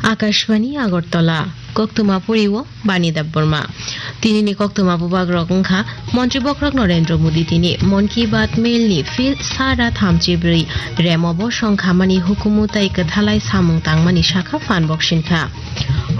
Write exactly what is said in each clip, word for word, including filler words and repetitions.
Akashvani Agartala, koktwma poriwo Bani Debbarma. Tinini koktwma bubagrok wngkha, Montri Bokhorok Narendra Modi tini Mon Ki Baat Mail ni phil sara thamchi brwi remo bosong khamani hukumu tei kwthalai samung tangmani sakha phan boksin kha.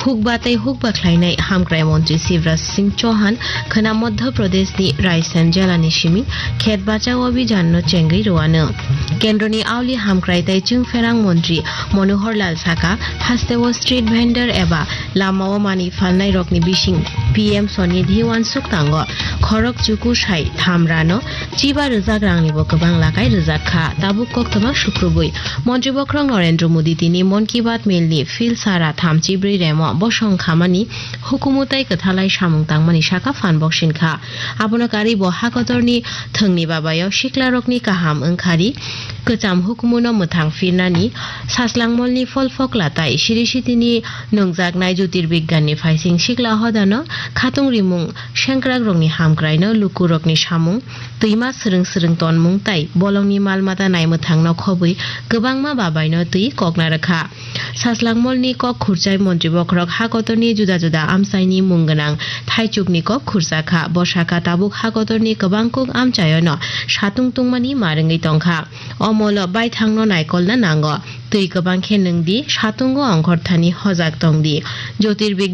Hukba tei hukba khlainai Hamkrai Montri Shivraj Singh Chauhan khwna Madhya Pradesh ni Raisen jela ni simi khet bachao abhijan no chengwi rwano. Kendro ni auli hamkrai tei chwngpherang montri Manohar Lal saka, hasteo street vendor eba lamao manwi phalnai rokni bising P M Swanidhi uansuk tango. Khorok chuku sai tham rano chiba rwjak rangnibo kwbang lakai rwjak kha. Tabuk koktwma sukrubwi Montri Bokhorok Narendra Modi tini Mon Ki Baat Mail ni phil sara thamchi brwi remo bosong khamani hukumu tei kwthalai samung tangmani sakha phan boksin kha. Abono karwi bo hakotorni thwngni babayo siklarokni kaham wngkhari kwcham hukumuno mwthang phirnani, Saslangmolni pholphokla tai siri sitini nungjaknai Jyotirbigyanni phaising sikla hodano khatung rimung sengkrakrokni hamkraino lukurokni samung, twima swrwng swrwng tonmung tai bolongni mal mata naimwthangno khobwi kwbangma babaino twi kokna rwkha. Saslangmolni kok khurchai Montri Bokhorok hakotorni juda juda amchaini mung gwnang thaichukni kok khurchakha. Bo sakha tabuk hakotorni kwbang kuk amchaiono satung tungmani ma rwngwi tongkha. O molo baithangno naikolna nango. Twi kwbang khe nwng di, satungo ongkhorthani hojak tong di. Jyotirbig